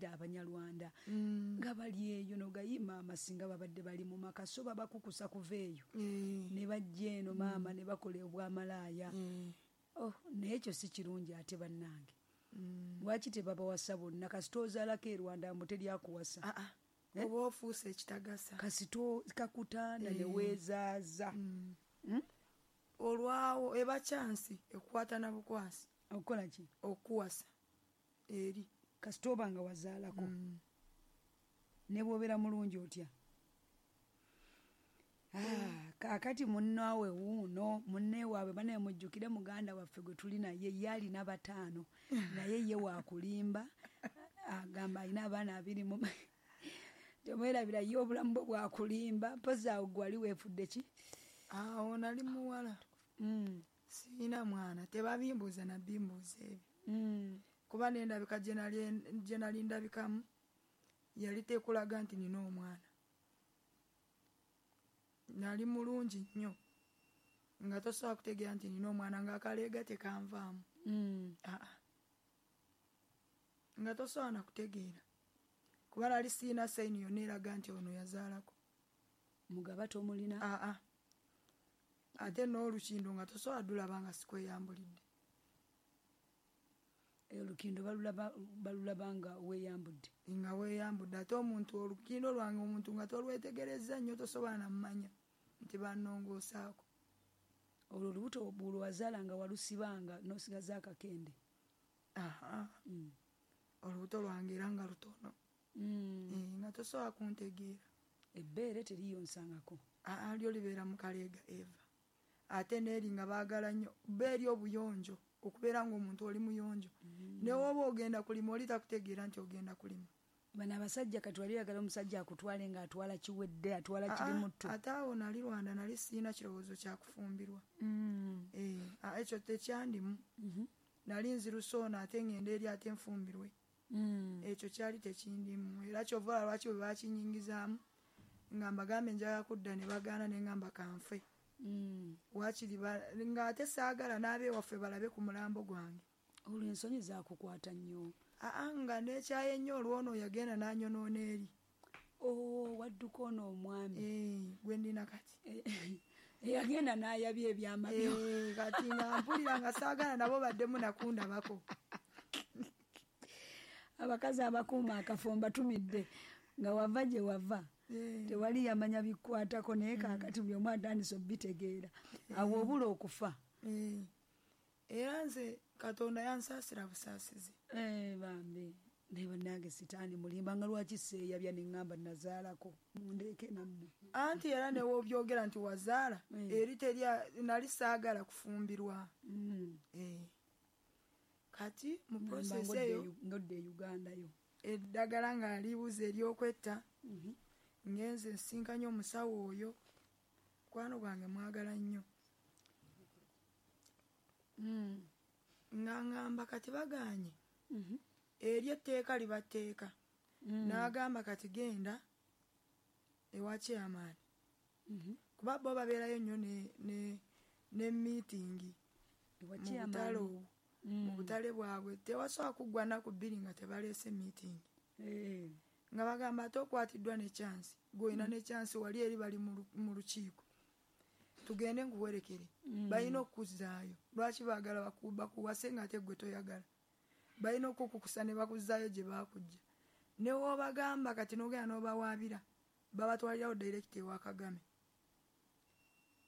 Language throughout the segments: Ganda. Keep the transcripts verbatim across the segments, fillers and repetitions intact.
Owulira Abanyarwanda nga bali eyo nogayima amasinga babadde bali mu maka, so babakukusa kuva eyo ne bajja eno maama ne bakola obwamalaaya. Oh, naye ekyo si kirungi ate bannange. Lwaki tebabawasa bonna? Kasita ozaalako e Rwanda mbu teryakuwasa. Oba ofuuse ekitagasa. Kasita kakutanda ne weezaaza. Olwawo eba kyansi ekukwata na bukwasi. Okukola ki? Okuwasa eri. Kasita oba nga wazaalako. Ne bw'obeera mulungi otya? Ah, kaakati munnaawe wuuno munne waabwe banaye mujjukire muganda waffe gwe tuli naye ye alina bataano naye ye waakulimba agamba alina abaana abiri mu temwerabira ye obulamu bwe bwakulimba. Mpozi awo gwe wali weefudde ki? Awo nali muwala. Siina mwana, tebabimbuuza nabimbuuza ebyo. Kuba n'endabika gye nali ndabikamu yali tekulaga nti nina omwana. Nali mulungi nnyo nga tosobola kutegeera nti nina omwana, ng'akaleega tekanvaamu. Aa, nga tosobola na kutegeera kuba nali siina sayini yonna eraga nti ono yazaalako. Mugaba tomulina? Aa, ate n'olukindo nga tosobola ddulaba nga sikweyambulidde. Olukindo balulaba nga weeyambudde. Nga weeyambudde. Ate omuntu olukindo lwange omuntu nga tolwetegerezza nnyo tosobola nammanya nti bannongoosaako. Olwo olubuto lwe wazaala nga walusibanga n'osigaza akakende? Aha, olubuto lwange era nga lutono, nga tosobola kuntegeera. Ebbeere teriyonsangako? Aa, lyo libeera mu kaleega eva. Ate n'eri nga baagala nnyo bba eri obuyonjo, okubeera ng'omuntu oli muyonjo. Ne woba ogenda kulima oli takutegeera nti ogenda kulima. Bano abasajja kati wali oyagala omusajja akutwale ng'atwala kiwedde, atwala kiri mutto. Ate awo nali Rwanda nali siina kirowoozo kya kufumbirwa. Ekyo tekyandimu. Nali nzirusa ono ate ngenda eri ate nfumbirwe. Ekyo kyali tekindimu. Era kyova olaba lwaki bwe bakinyingizaamu nga mbagambe njagala kudda ne bagaana ne ngamba kanfe. Waakiri ng'ate saagala n'abeewaffe balabe ku mulambo gwange. Olwo ensonyi zaakukwata nnyo? Aa, nga neekyaye nnyo olwono yagenda n'anyonoona eri. Oh, wadduka ono omwami. Gwe nnina kati. Eyagenda n'ayabya ebyama byo. Kati nga mpulira nga saagala nabo baddemu nakundabako. Abakazi abakuuma akafo mbatumidde nga wava gye wava. Tewali yamanya bikwatako naye kaakati buli omu atandise obitegeera. Awo obula okufa. Era nze Katonda yansaasira busaasizi. Bambi naye bannange sitaani mulimba nga lwaki seeyabya ne ŋŋamba nazaalako mundeeke nammwe. Anti era ne w'obyogera nti wazaala eri teri nali saagala kufumbirwa. Kati mu process eyo ng'odda e Uganda yo. Eddagala nga libuze ery'okwetta. Ngenze nsinkanye omusawo oyo mukwano gwange mwagala nnyo. Nga ŋŋamba kati bagaanye eri etteeka liba tteeka. N'agamba kati genda ewa chairman. Kuba bo babeerayo nnyo ne ne meeting mu butale obwo. Mu butale bwabwe tewasobola kuggwa nnaku bbiri nga tebaleese meeting. Nga bagamba ate okwatiddwa ne chance, gw'olina ne chance wali eri bali mu lukiiko. Tugende nkuwerekere. Balina okukuzzaayo. Lwaki baagala bakuwase ng'ate ggwe toyagala? Balina okukukusa ne bakuzzaayo gye baakujja. Ne w'obagamba kati n'ogenda n'obawaabira babatwalirawo direct ewa Kagame.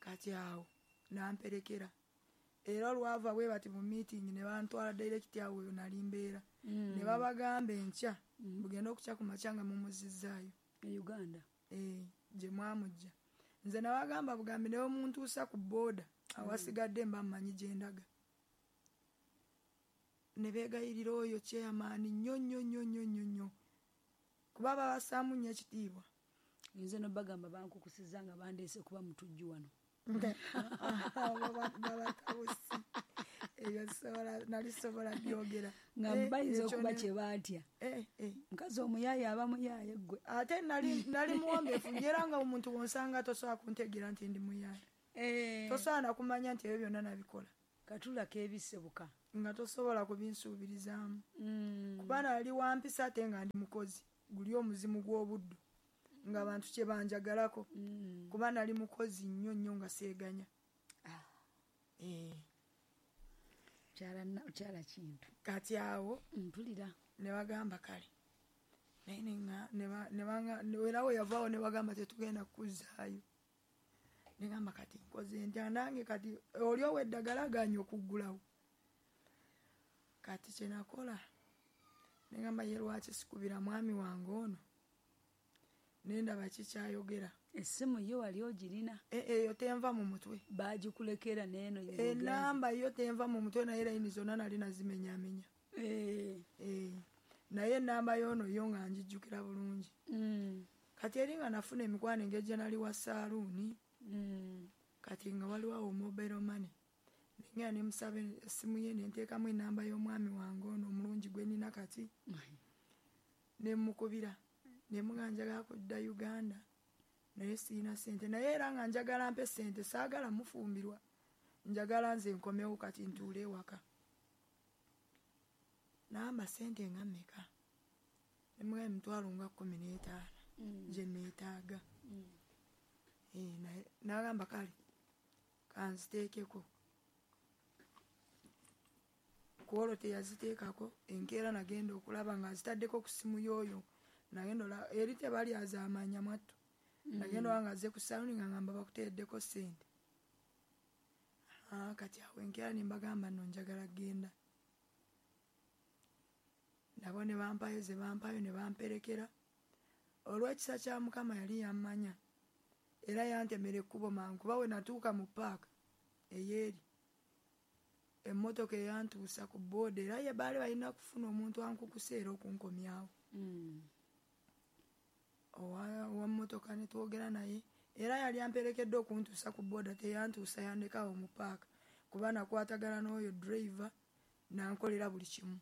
Kati awo n'amperekera. Era olwava bwe bati mu meeting ne bantwala direct awo eyo nali mbeera. Ne babagamba enkya bugenda okukya ku makya nga mumuzizzaayo. E Uganda? Gye mwamujja. Nze nabagamba bugambi ne omuntuusa ku booda awasigadde mba mmanyi gye ndaga. Ne beegayirira oyo chairman nnyo nnyo nnyo nnyo nnyo nnyo. Kuba babassaamu nnyo ekitiibwa. Nze no bagamba bankukusizza nga bandeese kuba mutujju wano. Babatawusi. Ebyo nali sobola byogera. Nga bayinza okuba kye baatya. Mukazi omuyaaye aba muyaaye ggwe. Ate nali nali muwombeefu era nga omuntu w'onsanga tosobola kuntegeera nti ndi muyaaye. Tosobola na kumanya nti ebyo byonna nabikola. Katula kebisebuka. Nga tosobola kubinsuubirizaamu. Mm. Kuba nali wampisa ate nga ndi mukozi. Guli omuzimu gw'obuddu. Nga abantu kye banjagalako. Mm. Kuba nali mukozi nnyo nnyo nga seeganya. Ah. Eh. Kyala na kyala kintu. Kati awo mpulira ne bagamba kale. Naye ne nga ne ba ne banga era we yavaawo ne bagamba tetugenda kuzzaayo. Ne gamba kati nkoze ntya nange kati oli ow'eddagala agaanye okuggulawo. Kati kye nakola ne gamba ye lwaki sikubira mwami wange ono. Ne ndaba kikyayogera. Essimu yo wali ogirina? Eyo tenva mu mutwe. Baagikulekera n'eno Ennamba yo tenva mu mutwe naye layini zonna nali nazimenyaamenya. Eh. Eh. Naye ennamba y'ono yo nga ngijjukira bulungi. Mm. Kati eri nga nafuna emikwano engeri gye nali wa saaluuni. Mm. Kati nga waliwo awo mobile money. Nengenda ne musaba essimu ye ne nteekamu ennamba y'omwami wange ono omulungi gwe nnina kati. Ne mmukubira. Ne mugamba njagala kudda Uganda. Naye sirina ssente. Naye era nga njagala mpe ssente saagala mufumbirwa. Njagala nze nkomewo kati ntuule ewaka. N'amba ssente nga mmeka? Ne mugamba emitwalo nga kkumi n'etaano Mm. gye neetaaga. Mm. Eh, naye n'agamba kale kanziteekeko. Ku olwo teyaziteekako, enkeera nagenda okulaba ng'azitaddeko ku ssimu y'oyo. Nagenda olaba eri tebali azaamanya mwattu. Nagenda olaba ng'azze ku saaluuni nga ngamba bakuteereddeko ssente. Ah, kati awo enkeera ne mbagamba nno njagala kugenda. Nabo ne bampayo ze bampayo ne bamperekera. Olw'ekisa kya Mukama yali yammanya. Era yantemera ekkubo mangu kuba we natuuka mu ppaaka ey'eri. Emmotoka eyantuusa ku booda era ye baali balina kufuna omuntu ankukusa era okunkomyawo. Mm. Owa owa mmotoka ne twogera naye era yali amperekedde okuntuusa ku booda teyantuusa yandekawo mu ppaaka kuba nakwatagana n'oyo driver n'ankolera buli kimu.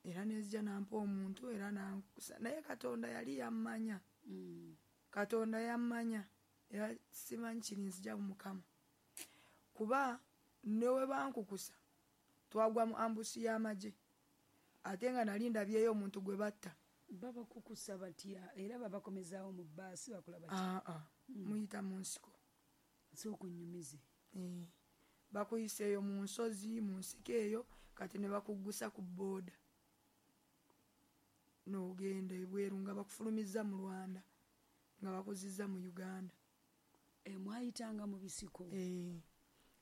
Era nenzija n'ampa omuntu era n'ankusa naye Katonda yali yammanya. Mm. Katonda yammanya era simanyi kirinzija mu Mukama. Kuba ne we bankukusa twagwa mu ambusi y'amagye ate nga nali ndabyeyo omuntu gwe batta. Babakukusa batya era babakomezaawo mu bbaasi bakola batya? Aa, ah, muyita mu nsiko. Sooka onnyumize. Eh, bakuyisa eyo mu nsozi mu nsiko eyo kati ne bakuggusa ku booda. N'ogenda ebweru nga bakufulumizza mu Rwanda nga bakuzizza mu Uganda. E, mwayitanga mu bisiko. Eh,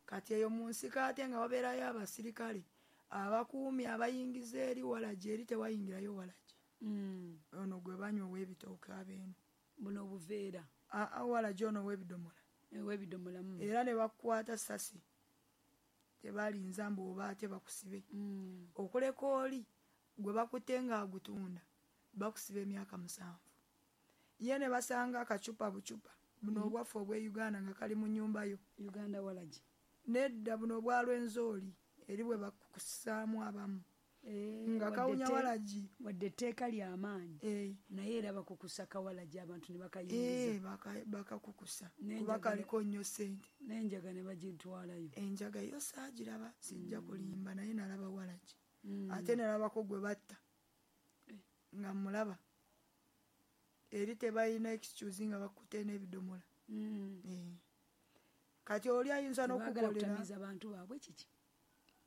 kati eyo mu nsiko ate nga wabeerayo abasirikale abakuumi abayingiza eri walagi eri tewayingirayo walagi. Mm. Ono gwe banywa ow'ebitooke abeeno. Buno obuveera. Aa, walagi ono ow'ebidomola. Ow'ebidomola. Mm. Era ne bakukwata ssasi. Tebalinza mbu oba ate bakusibe. Mm. Okuleka oli gwe bakutte ng'agutunda bakusiba emyaka musanvu. Ye ne basanga akacupa bucupa buno Mm. obwaffe obw'e Uganda nga kali mu nnyumba yo. Uganda walagi. Nedda buno obwa Rwenzori eri bwe bakukusaamu abamu. Eh, Nga kawunya wadde te- walagi. Wadde etteeka ly'amaanyi. Eh. Naye era bakukusa kawalagi abantu ne bakayingiza. Eh, baka- bakakukusa. N'enjaga Kuba ne- kaliko nnyo ssente. N'enjaga ne bagitwalayo. Enjaga yo saagiraba sijja kulimba naye nalaba walagi. Mm. Ate nalabako gwe batta. Eh. Nga mmulaba. Eri tebalina excuse nga bakutte n'ebidomola. Mm. Eh. Kati oli ayinza Tebaagala n'okukolera. kutamiiza bantu baabwe kiki?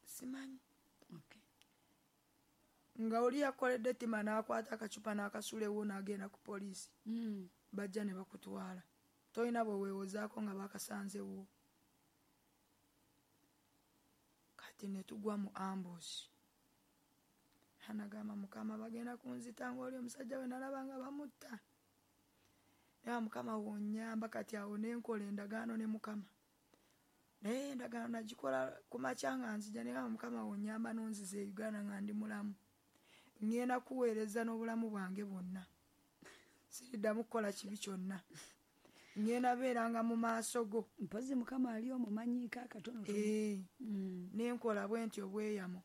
Simanyi. Okay. Nga oli yakoledde ettima n'akwata akacupa n'akasula ewo n'agenda ku poliisi. Mm. Bajja ne bakutwala. Tolina bwe weewozaako nga bakasanzewo. Kati ne tugwa mu ambush. Anagamba Mukama bagenda kunzita ng'oli omusajja we nalaba nga bamutta. Naye Mukama wonnyamba kati awo ne nkola endagaano ne Mukama. Naye endagaano nagikola ku makya nga nzija ne ngamba Mukama wonnyamba n'onziza e Uganda nga ndi mulamu. Ngenda kuweereza n'obulamu bwange bwonna. Siriddamu kukola kibi kyonna. Ngenda beeranga mu maaso go. Mpozzi Mukama ali omumanyiiko akatono. Eh. Mm. Ne nkola bwe ntyo obweyamo.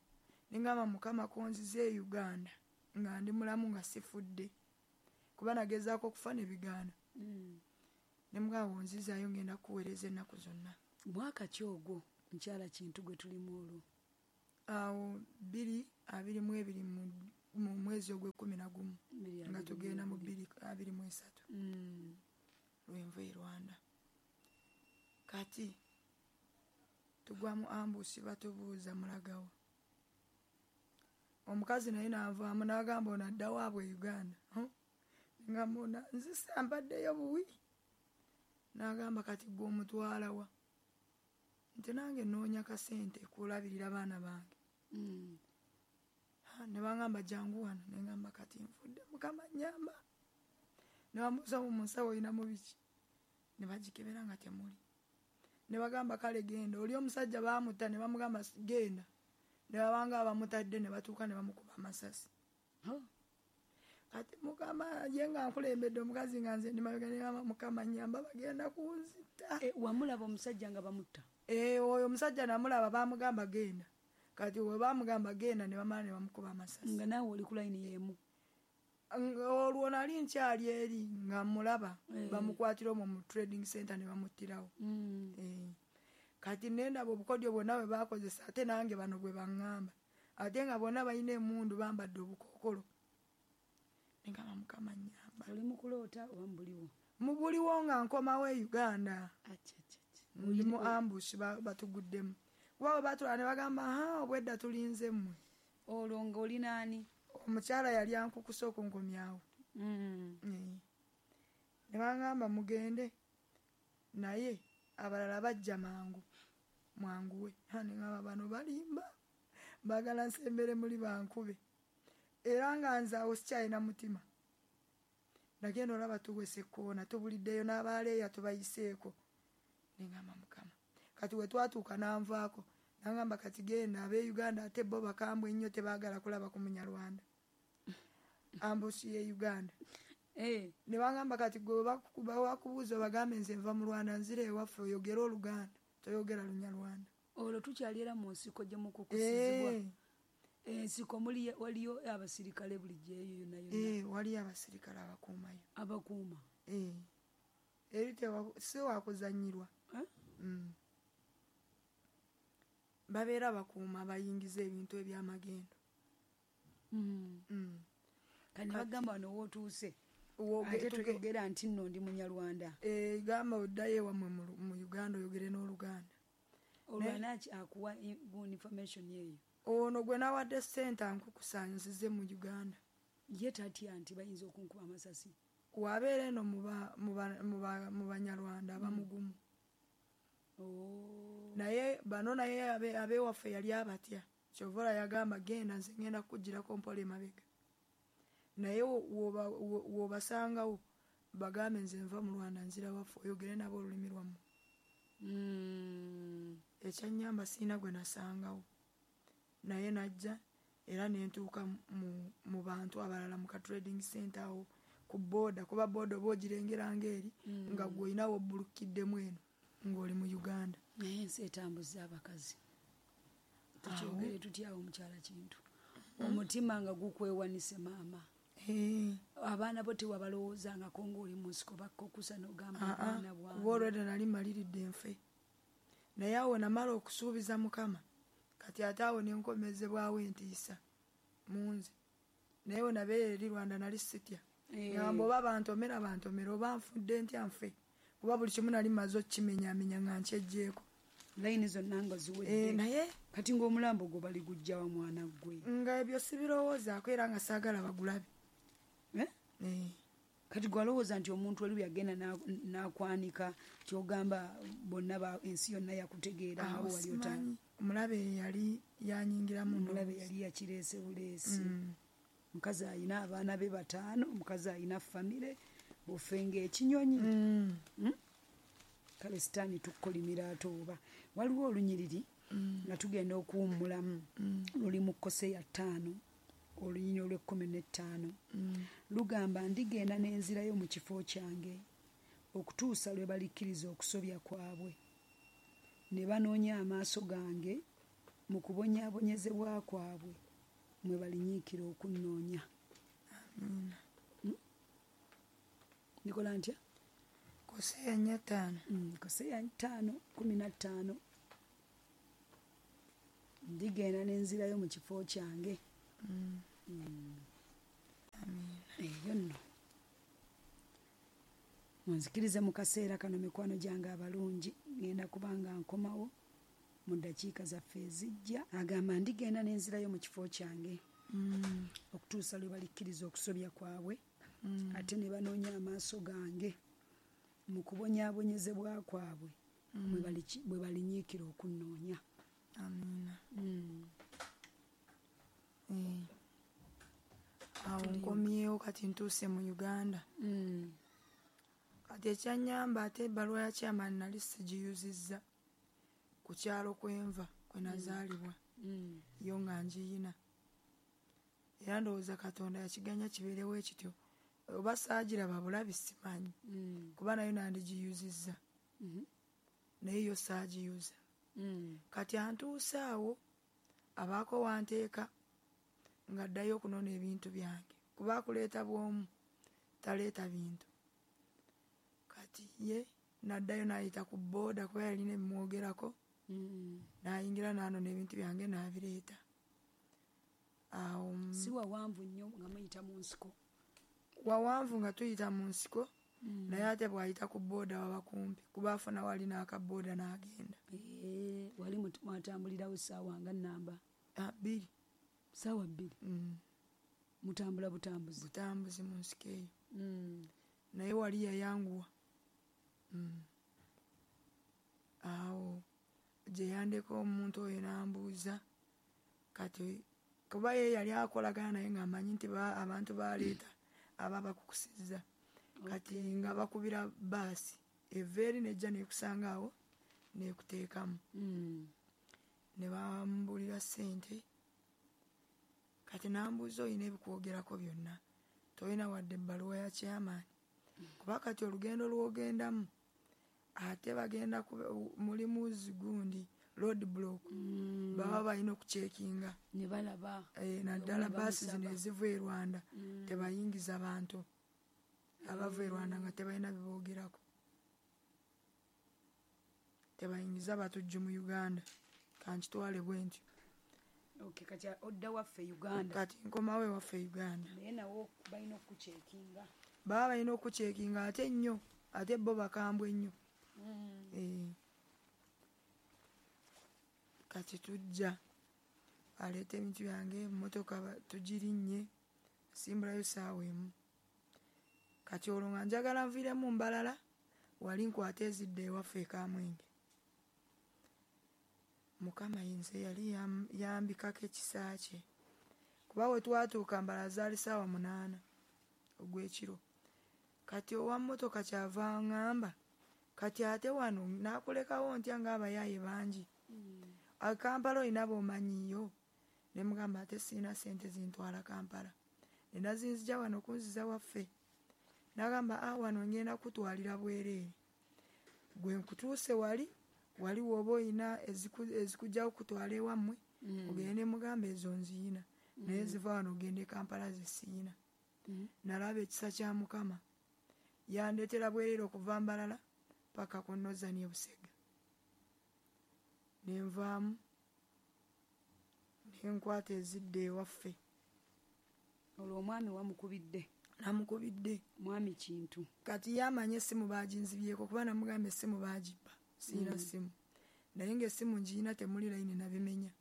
Ne ngamba Mukama konzize e Uganda nga ndi mulamu nga sifudde. Kuba nagezaako okufa ne bigaana. Mm. Ne mugamba wonzizaayo ngenda kuweereza ennaku zonna. Mwaka ki ogwo? Mukyala Kintu gwe tulimu olwo. Awo bbiri abiri mu ebiri mu mwezi ogw'ekkumi na gumu nga tugenda mu bbiri abiri mu esatu mm. lwenva e Rwanda. Kati tugwa mu ambusi batubuuza mulagawa. Omukazi naye n'anvaamu n'agamba ono adda waabwe e Uganda. Ngamba ono nzise mbaddeyo buwi. N'agamba kati gwe omutwala wa? Nti nange nnoonya kasente kulabirira baana bange. Mm. Ne bangamba jangu wano, ne ngamba kati nfudde Mukama nnyamba. Ne bamubuuza mu nsawo oyinamu biki? Ne bagikebera nga temuli. Ne bagamba kale genda. Oli omusajja baamutta ne bamugamba genda. Ne babanga abamutadde ne batuuka ne bamukuba amasasi. Huh? Kati Mukama ye nga nkulembedde omukazi nga nze ndi mabega ne ngamba Mukama nnyamba bagenda kunzita. E, wamulaba omusajja nga bamutta? Eh, oyo omusajja namulaba bamugamba genda. Kati we bamugamba genda ne bamala ne bamukuba amasasi. Nga naawe oli ku layini y'emu? Olwo nali nkyali eri nga mulaba e. Bamukwatira omwo mu trading center ne bamuttirawo. Mm. Eh. Kati nendaba obukodyo bwonna bwe bakozesa ate nange bano bwe baŋŋamba. Ate nga bonna balina emmundu bambadde obukookolo. Ne ngamba Mukama nnyamba. Oli mu kuloota oba mu buliwo? Mu buliwo nga nkomawo e Uganda. Acha, acha, acha. Ndi mu ambush batuguddemu. Kuba bwe baatula ne bagamba ha obwedda tulinze mmwe. Olwo ng'oli naani? Omukyala yali ankukusa okunkomyawo. Mm. Eh. Ne baŋŋamba mugende naye abalala bajja mangu mwanguwe. Ne ngamba bano balimba baagala nsembere muli bankube. Era nga nze awo sikyalina mutima. Nagenda olaba tuwese ekkoona tubuliddeyo n'abaaleeya tubayiseeko. Ne ngamba Mukama. Kati we twatuuka n'anvaako n'angamba kati genda ab'e Uganda ate bo bakambwe nnyo tebaagala kulaba ku Munyarwanda. Ambusi ye Uganda. Eh. Ne bangamba kati gwe bakubuuza bagambe nze nva mu Rwanda nzira ewaffe oyogere Oluganda toyogera Lunyarwanda. Olwo tukyali era mu nsiko gye mukukusizibwa. Eh. Ensiko muli waliyo abasirikale bulijjo eyo yonna yonna. Eh, waliyo abasirikale abakuumayo. Abakuuma. Eh. Eri si wakuzannyirwa. Eh? Mm. Babeera bakuuma bayingiza ebintu ebyamagendo. Mm. Mm. Kati bagamba wano w'otuuse. Ate toyogera nti nno ndi Munyarwanda. Eh, gamba oddayo ewammwe mu Uganda oyogere n'Oluganda. Olwo anaki akuwa information eyo? Ono gwe nawadde ssente ankukusa nzize mu Uganda. Ye tatya nti bayinza okunkuba amasasi? Wabeera eno mu Banyarwanda abamugumu. Oh. Naye bano naye ab'ewaffe yali abatya. Kyova olaba yagamba genda nze ngenda kukugirako mpola emabega. Naye w'obasangawo bagambe nze nva mu Rwanda nzira waffe oyogere nabo olulimi lwammwe. Mm. Ekyannyamba sirina gwe nasangawo. Naye najja era ne ntuuka mu bantu abalala mu ka trading center awo ku booda kuba booda oba ogirengera ng'eri nga gwe olina w'obbulukiddemu eno ng'oli mu Uganda. Naye ensi etambuza abakazi. Tukyogere tutya awo mukyala Kintu? Omutima nga gukwewanise maama. Eh. Abaana bo tewabalowoozangako ng'oli mu nsiko bakkokusa n'ogamba abaana bwange. Kuba olwedda nali maliridde nfe. Naye awo namala okusuubiza Mukama. Kati ate awo ne nkomezebwawo entiisa mu nze. Naye we nabeera eri Rwanda nali sitya. Ngamba oba bantomera bantomera oba nfudde ntya nfe. Kuba buli kimu nali mmaze okkimenyaamenya nga nkyeggyeko. Layini zonna nga ziwedde. Eh, naye kati ng'omulambo gwo baligujja wa mwana gwe. Nga ebyo sibirowoozaako era nga saagala bagulabe. Eh? Eh. Kati gwalowooza nti omuntu oli yagenda n'akwanika ky'ogamba bonna ensi yonna yakutegeera nga wali otandika. Omulabe yali yanyingiramu. Omulabe yali yakireese buleesi. Omukazi alina abaana be bataano, omukazi alina famire, bufe ng'ekinyonyi. Kale sitaani tukkolimira ate oba. Waliwo olunyiriri nga tugenda okuwummulamu luli mu Koseya ttaano olunyiriri olw'ekkumi n'ettaano. Lugamba ndigenda n'enzirayo mu kifo kyange okutuusa lwe balikkiriza okusobya kwabwe ne banoonya amaaso gange mu kubonyaabonyezebwa kwabwe mwe balinyiikira okunnoonya. Amiina. Nikola ntya? Koseya nnya ttaano. Koseya ttaano kkumi na ttaano. Ndigenda n'enzirayo mu kifo kyange. Mm. Mm. Amiina. Eyo nno. Munzikirize mu kaseera kano mikwano gyange abalungi, ngenda kubanga nkomawo mu ddakiika zaffe ezijja. Agamba ndigenda n'enzirayo mu kifo kyange. Mm. Okutuusa lwe balikkiriza okusobya kwabwe. Mm. Ate ne banoonya amaaso gange mu kubonyaabonyezebwa kwabwe. Mm. Bwe bali- bwe balinyiikira okunnoonya. Amiina. Mm. Eh. Awo nkomyewo kati ntuuse mu Uganda. Mm. Kati ekyannyamba ate ebbaluwa ya chairman nali sigiyuzizza ku kyalo kwenva kwe nazaalibwa. Mm. Yo nga ngiyina. Era ndowooza Katonda yakiganya kibeerewo ekityo. Oba saagiraba bulabi simanyi. Mm. Kuba nayo nandigiyuzizza. Mhm. Naye yo saagiyuza. Mm. Kati antuuse awo abaako wanteeka nga ddayo okunona ebintu byange. Kuba akuleeta bw'omu taleeta bintu. Kati ye n'addayo n'ayita ku bbooda kuba yalina ebimwogerako. Mm. N'ayingira n'anona ebintu byange n'abireeta. Awo mm, Si wawanvu nnyo nga muyita mu nsiko. Wawanvu nga tuyita mu nsiko. Mm. Naye ate bw'ayita ku bbooda waba kumpi kuba afuna wali n'akabbooda n'agenda. Eh, wali mut-, mwatambulirawo ssaawa nga nnamba? Ah, bbiri. Ssaawa bbiri? Mm. Mutambula butambuzi? Butambuzi mu nsiko eyo. Mm. Naye wali yayanguwa. Mm. Awo gye yandeka omuntu oyo n'ambuuza kati kuba ye yali akolagana naye ng'amanyi nti ba-, abantu baleeta aba bakukusizza. Kati nga bakubira bbaasi eva eri n'ejja n'ekusanga awo n'ekuteekamu. Mm. Ne bambuulira ssente. Kati n'ambuuza olina ebikwogerako byonna, tolina wadde ebbaluwa ya chairman. Kuba kati olugendo lw'ogendamu ate bagenda kube-, mulimu zigundi road block. Mm. Baba balina okucekinga. Ne balaba. Eh, naddala Nga bbaasi bamusaba. zino eziva e Rwanda Mm. tebayingiza bantu abava e Rwanda nga tebalina biboogerako. Tebayingiza batujju mu Uganda. Kankitwale bwe ntyo. Okay, kati odda waffe Uganda. Kati nkomawo ewaffe Uganda. Naye nawo balina okucekinga. Baba balina okucekinga ate nnyo, ate bo bakambwe nnyo. Mm. Eh. Kati tujja aleeta ebintu byange, emmotoka ba-, tugirinnye, simbulayo ssaawa emu. Kati olwo nga njagala nviiremu Mbalala, wali nkwate ezidda ewaffe e Kamwenge. Mukama nze yali yam-, yambikako ekisa kye. Kuba we twatuuka Mbalala zaali ssaawa munaana ogw'ekiro. Kati owa mmotoka kyava aŋŋamba, kati ate wano naakulekawo ntya ng'abayaaye bangi. Mm. A Kampala olina b'omanyiiyo? Ne mugamba ate sirina ssente zintwala Kampala. Ne nazinzija wano kunziza waffe. N'agamba, ah, wano ngenda kutwalira bwereere. Gwe nkutuuse wali, wali w'oba olina eziku-, ezikujja okutwala ewammwe, Mm. ogende mugamba ezo nziyina. Naye Mm. ziva wano ogende e Kampala ze siyina. Mm. Nalaba ekisa kya Mukama. Yandeetera bwereere okuva Mbalala paka ku Northern e Busega. Ne nvaamu, ne nkwata ezidda ewaffe. Olwo omwami wamukubidde? Namukubidde. Mwami Kintu. Kati ye amanye essimu baaginzibyeko kuba namugamba essimu baagibba. Sirina Mm. ssimu. Naye ng'essimu ngiyina temuli layini nabimenya.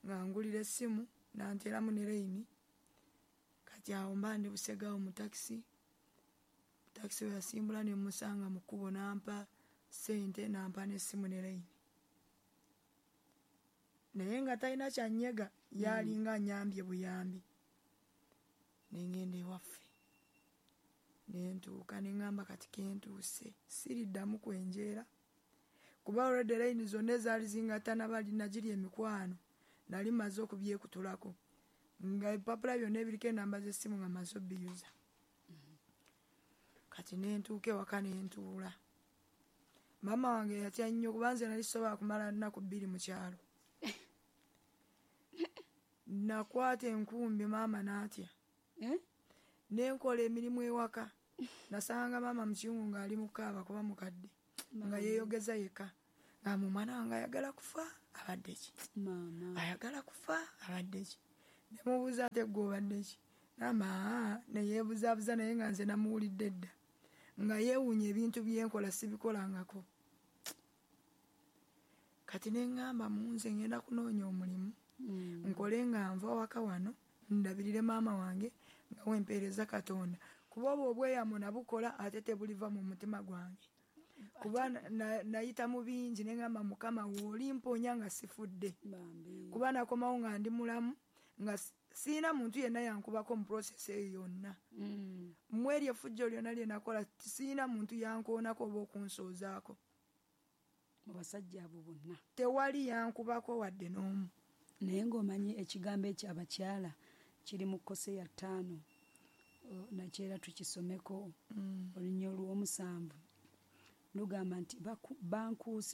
Nga ngulira essimu n'anteeramu ne layini. Kati awo mba ndi Busega awo mu takisi. Takisi we yasimbula ne mmusanga mu kkubo n'ampa ssente n'ampa n'essimu ne layini. Naye nga talina kyannyega, yalinga annyambye buyambi. Ne ŋŋenda ewaffe. Ne ntuuka ne ŋŋamba kati ke ntuuse, siriddamu kwenjeera. Kuba already layini zonna ezaali zingatta nabali nagiri emikwano, nali mmaze okubyekutulako. Nga ebipapula byonna ebiriko ennamba z'essimu nga mmaze obbiyuza. Kati ne ntuuka ewaka ne ntuula. Maama wange yatya nnyo kuba nze nali sisobola kumala nnaku bbiri mu kyalo. Nakwata enkumbi maama n'atya. Eh? Ne nkola emirimu ewaka. Nasanga maama mu kiyungu ng'ali mu kaaba kuba mukadde. Nga yeeyogeza yekka. Nga omwana wange ayagala kufa abadde ki? Maama. Ayagala kufa abadde ki? Ne mubuuza ate gwe obadde ki? Namba ne yeebuzaabuza naye nga nze namuwulidde dda. Nga yeewuunya ebintu byenkola sibikolangako. Kati ne ŋŋamba mu nze ngenda kunoonya omulimu. Mm. Nkole nga nva waka wano ndabirire maama wange nga wempeereza Katonda. Kuba obwo obweyamo nabukola ate tebuliva mu mutima gwange. Kuba nayita mu bingi ne ŋŋamba Mukama w'oli mponya nga sifudde. Bambi. Kuba nakomawo nga ndi mulamu nga sirina muntu yenna yankubako mu process eyo yonna. Mm. Mu eryo effujjo lyonna lye nakola sirina muntu yankoonako oba okunsoozaako. Mu basajja abo bonna. Tewali yankubako wadde n'omu. Naye ng'omanyi ekigambo ekyo abakyala kiri mu Koseya ttaano nakyera tukisomeko Mm. olunya olw'omusanvu lugamba nti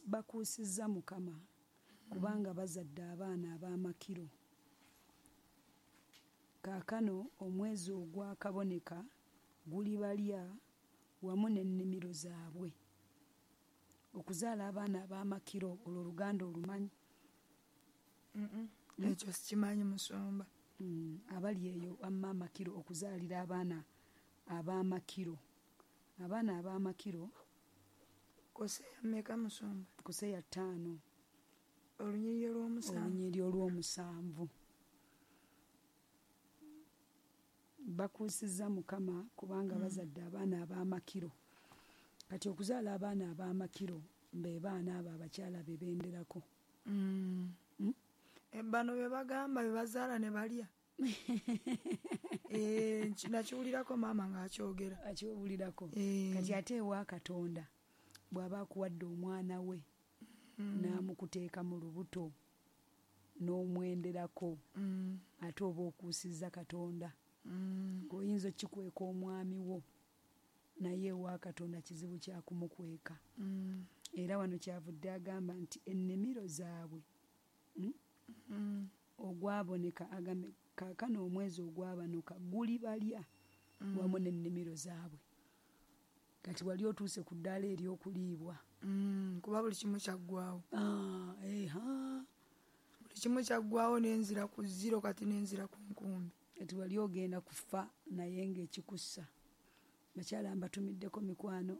bakuusizza Mukama kubanga bazadde abaana ab'amakiro. Kaakano omwezi ogwakaboneka gulibalya wamu n'ennimiro zaabwe. Okuzaala abaana ab'amakiro olwo Oluganda olumanyi? Ekyo sikimanyi musumba. Mm, abali eyo amma amakiro okuzaalira abaana ab'amakiro. Abaana ab'amakiro Koseya mmeka musumba? Koseya ttaano. Olunyiriri olw'omusanvu. Olunyiriri olw'omusanvu. Bakuusizza Mukama kubanga Mm. bazadde abaana ab'amakiro. Kati okuzaala abaana ab'amakiro be baana abo abakyala be benderako. Mm. Mm? Bano be bagamba be bazaala ne balya. Eh, nakiwulirako maama ng'akyogera. Akiwulirako. Eh. Kati ate ewa Katonda bw'aba akuwadde omwana we Mm. n'amukuteeka mu lubuto n'omwenderako Mm. ate oba okuusizza Katonda. Mm. Ng'oyinza okkikweka omwami wo naye ewa Katonda kizibu kya kumukweka. Mm. Era wano kyavudde agamba nti ennimiro zaabwe mm? Mm. ogwaboneka agambe kaakano omwezi ogwabanuka gulibalya Mm. wamu n'ennimiro zaabwe. Kati wali otuuse ku ddaala ery'okuliibwa. Mm, kuba buli kimu kyaggwawo. Ah, eha. Buli kimu kyaggwawo n'enzira ku zero kati n'enzira ku nkumbi. Kati wali ogenda kufa naye ng'ekikussa. Bakyala mbatumiddeko mikwano,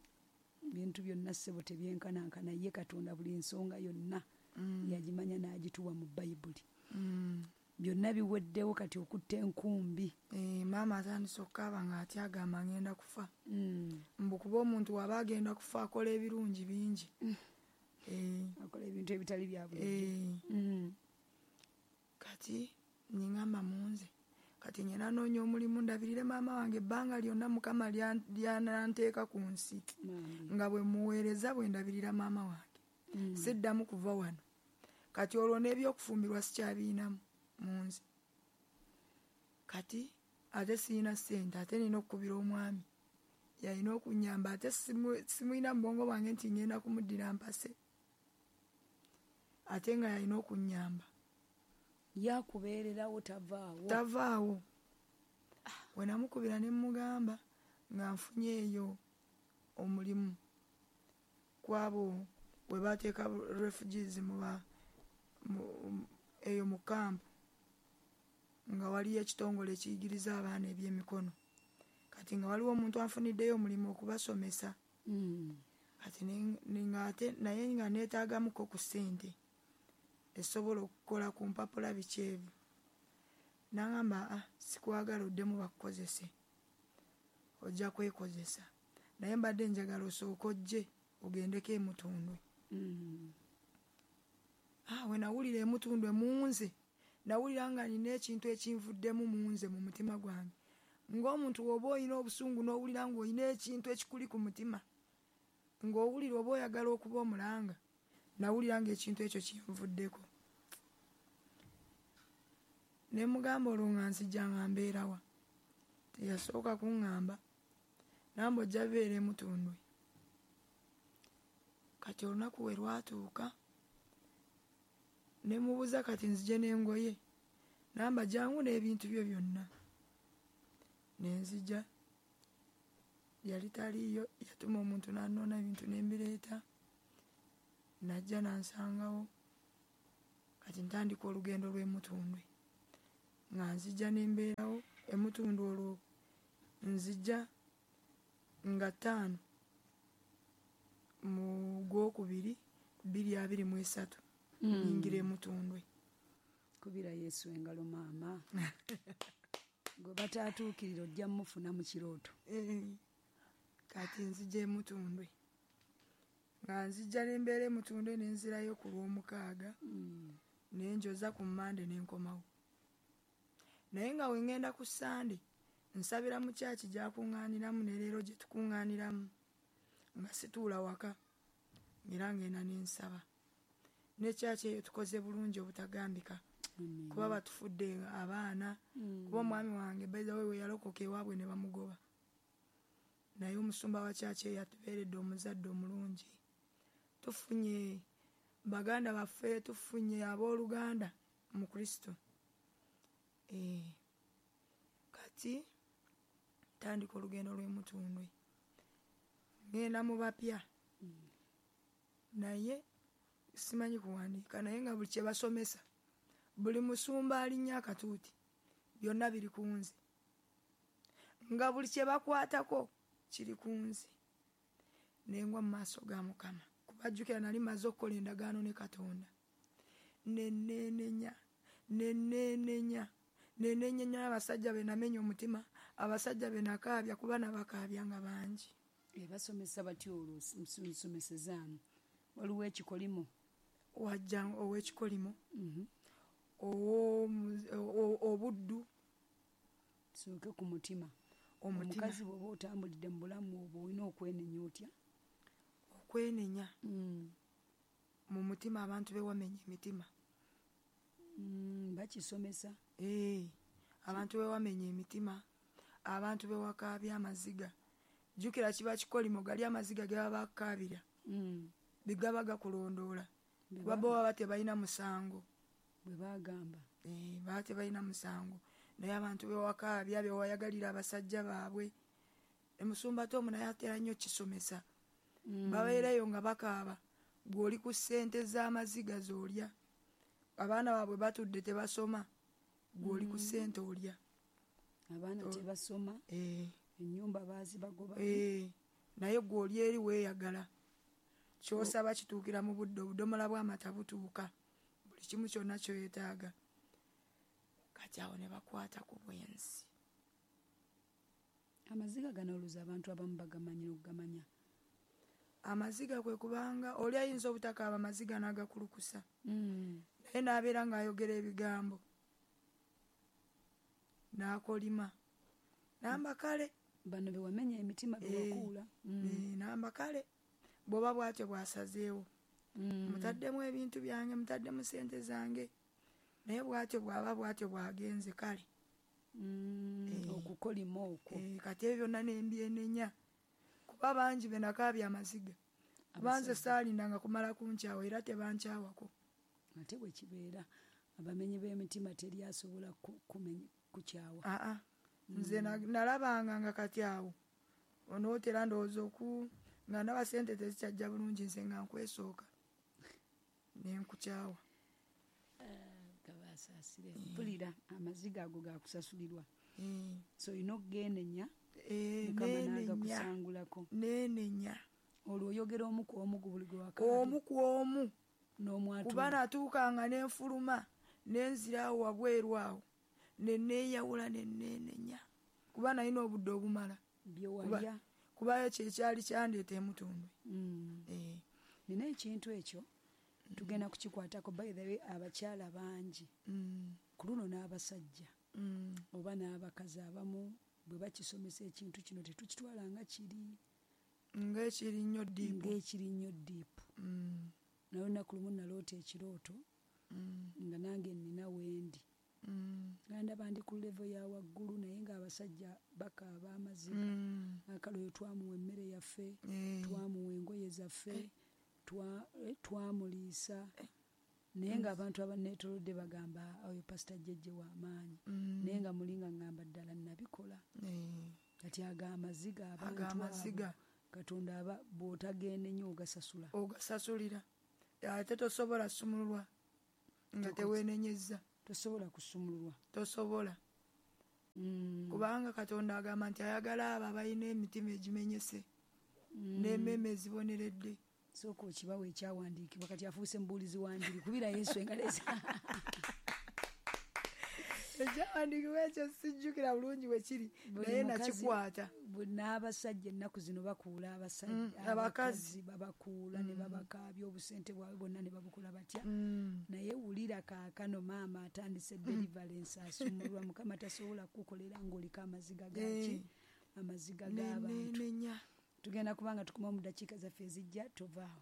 bintu byonna ssebo tebyenkanankana ye Katonda buli nsonga yonna Mm. yagimanya n'agituwa mu Bayibuli. Mm. Byonna biweddewo kati okutta enkumbi. Eh, maama atandise okukaaba ng'atya agamba ngenda kufa. Mm. Mbu kuba omuntu waba agenda kufa akola ebirungi bingi. Mm. Eh. Akola ebintu ebitali bya bulijjo. Eh. Mm. Kati ningamba munze. Kati ngenda noonya omulimu ndabirire maama wange ebbanga lyonna Mukama lyananteeka ku nsi. Maama. Nga bwe muweereza bwe ndabirira maama wange. Mm. Siddamu kuva wano. Kati olwo n'ebyokufumbirwa sikyabiinamu mu nze. Kati ate sirina ssente ate nina okukubira omwami. Yalina okunnyamba ate simulina mu bwongo bwange nti ngenda kumuddira mpase. Ate nga yalina okunnyamba. Yakubeererawo tavaawo. Tavaawo. We namukubira ne mmugamba nga nfunye eyo omulimu kwabo we bateeka refugees mu ba eyo mu kampu nga waliyo ekitongole ekiyigiriza abaana ebyemikono. Kati nga waliwo omuntu anfuniddeyo omulimu okubasomesa. Mm. Kati ate naye nga neetaagamuko ku ssente esobola okukola ku mpapula biki ebyo. N'angamba ah, sikwagala oddemu bakukozese, ojja kwekozesa. Naye mbadde njagala osooke ojje ogendeko e Mutundwe. Mm. Ah, we nawulira e Mutundwe mu nze, nawulira nga nina ekintu ekinvuddemu mu nze mu mutima gwange. Ng'omuntu bw'oba olina obusungu n'owulira ng'olina ekintu ekikuli ku mutima, ng'owulira oba oyagala okuba omulanga, nawulira ng'ekintu ekyo kinvuddeko. Ne mugamba olwo nga nzija nga mbeerawa. Teyasooka kuŋŋamba, namba ojja beera e Mutundwe. Kati olunaku we lwatuuka, ne mubuuza kati nzije n'engoye, namba jangu n'ebintu byo byonna. Ne nzija, yali taliiyo, yatuma omuntu n'annoona ebintu ne mbireeta. Najja nansangawo. Kati ntandika olugendo lw'emutundwe. Nga nzija nembeerawo emutundwe olwo nzija nga ttaano mu gwokubiri bbiri abiri mu esatu nyingira emutundwe. Kubira Yesu engalo maama. Gwe bataatuukirira ojja mufuna mu kirooto. Kati nzija emutundwe. Nga nzija nembeera emutundwe ne nzirayo ku lw'omukaaga ne njoza ku Mmande ne nkomawo. Naye nga we ŋŋenda ku Ssande nsabira mu kyaki gy'akuŋŋaaniramu ne leero gye tukuŋŋaaniramu nga situula waka era ngenda ne nsaba. Ne kyaki eyo tukoze bulungi obutagambika kuba batufudde abaana kuba omwami wange by the way we yalokoka ewaabwe ne bamugoba. Naye omusumba wa kyaki eyo atubeeredde omuzadde omulungi. Tufunye baganda baffe, tufunye abooluganda mu Kristo. Eh, kati tandika olugendo lw'emutundwe. Ngenda mu bapya. Naye simanyi kuwandiika naye nga buli kye basomesa buli musumba alinnya akatuuti byonna biri ku nze. Nga buli kye bakwatako kiri ku nze. Nengwa mu maaso ga Mukama. Kubajjukira nali mmaze okukola endagaano ne Katonda. Neneenenya, neneenenya, neneenyenya abasajja be namenya omutima, abasajja be nakaabya kuba nabakaabya nga bangi. Ebasomesa batyo olwo nsomesezaamu. Waliwo ekikolimo. Wajja ow'ekikolimo. Obuddu. Tusooke ku mutima. Omukazi bw'oba otambulidde mu bulamu obwo olina okwenenya otya? Okwenenya mu mutima abantu be wamenya emitima. Bakisomesa. Abantu be wamenya emitima, abantu be wakaabya amaziga. Jjukira kiba kikolimo gali amaziga ge baba bakaabira. Bigaba gakulondoola. Kuba bo baba tebalina musango. Bwe bagamba. Baba tebalina musango. Naye abantu be wakaabya be wayagalira abasajja baabwe. Emusumba Tom naye atera nnyo kisomesa. Babeerayo nga bakaaba. Gw'oli ku ssente z'amaziga z'olya. Abaana baabwe batudde tebasoma. Gw'oli ku ssente olya. Abaana tebasoma. Ennyumba baazibagoba. Naye gw'oli eri weeyagala. Ky'osaba kituukira mu budde, obudomola bw'amata butuuka. Buli kimu kyonna ky'oyetaaga. Kati awo ne bakwata ku bwenzi. Amaziga gano olowooza abantu abamu bagamanyi n'okugamanya. Amaziga kwe kubanga oli ayinza obutakaaba amaziga n'agakulukusa. Naye n'abeera ng'ayogera ebigambo. N'akolima. Namba kale. Bano be wamenya emitima be wakuula. Namba kale. Bw'oba bw'atyo bw'asazeewo. Mutaddemu ebintu byange, mutaddemu ssente zange. Naye bw'atyo bw'aba bw'atyo bw'agenze kale. Okukolima okwo. Kati ebyo byonna ne mbyenenya. Kuba bangi be nakaabya amaziga. Kuba nze saalindanga kumala kunkyawa era tebankyawako. Ate bwe kibeera abamenyi b'emitima teri asobola kukyawa. Aa, nze nalabanga nga kati awo onootera ndowooza oku nga ndaba ssente tezikyajja bulungi nze nga nkwesooka ne nkukyawa. Gabasaasire. Mpulira amaziga ago gakusasulirwa. So olina okugenenya Mukama n'agakusangulako. Neenenya. Olwo oyogera omu ku omu buli gwe wakaabya. Omu ku omu. N'omwatula. Kuba natuukanga ne nfuluma ne nzira awo wabweru awo ne neeyawula ne neenenya. Kuba nalina obudde obumala. Bye walya. Kubayo kyekyali kyandeeta emutundwe. Nina ekintu ekyo tugenda kukikwatako. By the way, abakyala bangi ku luno n'abasajja oba n'abakazi abamu bwe bakisomesa ekintu kino tetukitwala nga kiri ng'ekiri nnyo ddiipu. Ng'ekiri nnyo ddiipu. Naye olunaku lumu naloota ekirooto nga nange nnina wendi. Nga ndaba ndi ku level ya waggulu naye ng'abasajja bakaaba amaziga. Akale oyo twamuwa emmere yaffe, twamuwa engoye zaffe, twamuliisa. Naye ng'abantu abanneetoolodde bagamba oyo Pasita Jjejje w'amaanyi. Naye nga muli nga ŋŋamba ddala nabikola. Kati ago amaziga abantu abo Katonda aba bw'otagenda ennyo ogasasula. Ogasasulira. Ate tosobola sumululwa nga teweenenyezza. Tosobola kusumululwa. Tosobola. Mm. Kubanga Katonda agamba nti ayagala abo abalina emitima egimenyese Mm. n'emmeeme eziboneredde. Sooka okibawo ekyawandiikibwa, kati afuuse mubuulizi wa njiri, kubira Yesu engalo eza- Ekyawandiikibwa ekyo sijjukira bulungi bwe kiri, Buli naye mukazi- nakikwata. Bu-, n'abasajja ennaku zino bakuula abasajja, Mm, abakazi. abakazi babakuula ne babakaabya obusente bwabwe bwonna ne babukola batya. Mm. Naye wulira kaakano maama atandise deliverance, asumululwa. Mukama tasobola kukukolera ng'oliko amaziga gaki? Eh. Amaziga Ne- g'abantu. Nenenya. Tugenda kubanga tukoma mu ddakiika zaffe ezijja, tovaawo.